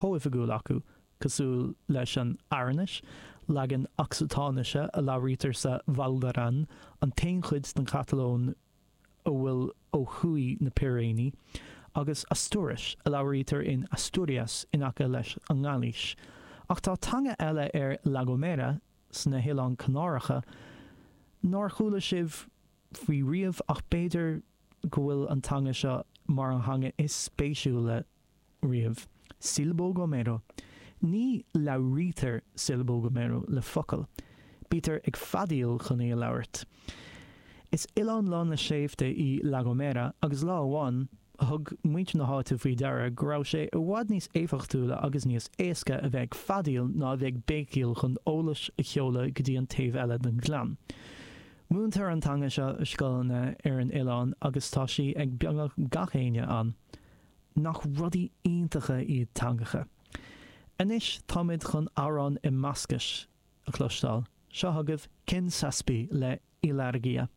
Chomhoifigiúil acu, cosúil leis an Arainnis, leagan Ocsatáinise a labhraítear sa Val d'Aran, an t-aon chuid den Chatalóin a bhfuil ó thuaidh na Piréiní, agus Astúiris, a labhraítear in Asturias in aice leis an nGailís. Ach tá teanga eile ar La Gomera, sna hOileáin Chanáracha, nár chuala sibh faoi riamh ach b'fhéidir go bhfuil an teanga seo mar an theanga is spéisiúla riamh. Silbo Gomero. Ní labhraítear Silbo Gomero le focail. Bítear ag feadaíl chun í a labhairt. Is oileán lán le sléibhte í La Gomera agus lá amháin, thug muintir na háite faoi deara go raibh sé i bhfad níos éifeachtúla agus níos éasca a bheith ag feadaíl ná a bheith ag béicíl chun eolas a sheoladh go dtí an taobh eile den ghleann. Múintear an teanga seo i scoileanna ar an oileán agus tá sí ag beagnach gach éinne ann. Nach rudaí iontacha iad teangacha? Anois táimid chun amhrán i mBascais a chloisteáil. Seo chugaibh Ken Zazpi le Ilargia.